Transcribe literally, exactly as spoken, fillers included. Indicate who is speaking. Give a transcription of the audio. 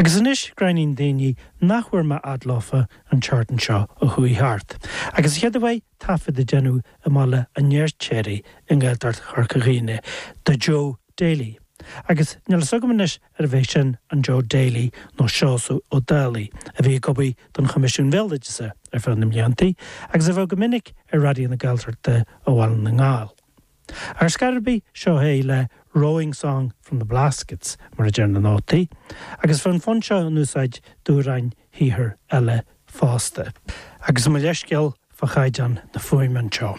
Speaker 1: Agus anois gráinnín daoine nach bhfuair mé fhad leofa an tseachtain seo a chuaigh thart. Agus chéad uair taifead a déanamh i mBaile an Fheirtéaraigh i nGaeltacht Chorca Dhuibhne do Joe Daly. Agus níl a fhios agam anois ar bhé sin an Joe Daly nó Seosamh Ó Dálaigh a bhí ag obair don Choimisiún Béaloideasa ar feadh na mblianta, agus a bheith go minic ar Raidió na Gaeltachta ó Bhaile na nGall. Ar scor ar bith seo é le Rowing Song from the Blaskets mar a deir na nótaí, agus bhí an fonn seo in úsáid d'amhráin shaothair eile fosta. Agus mo leithscéal fá chaighdeán na fuaime anseo.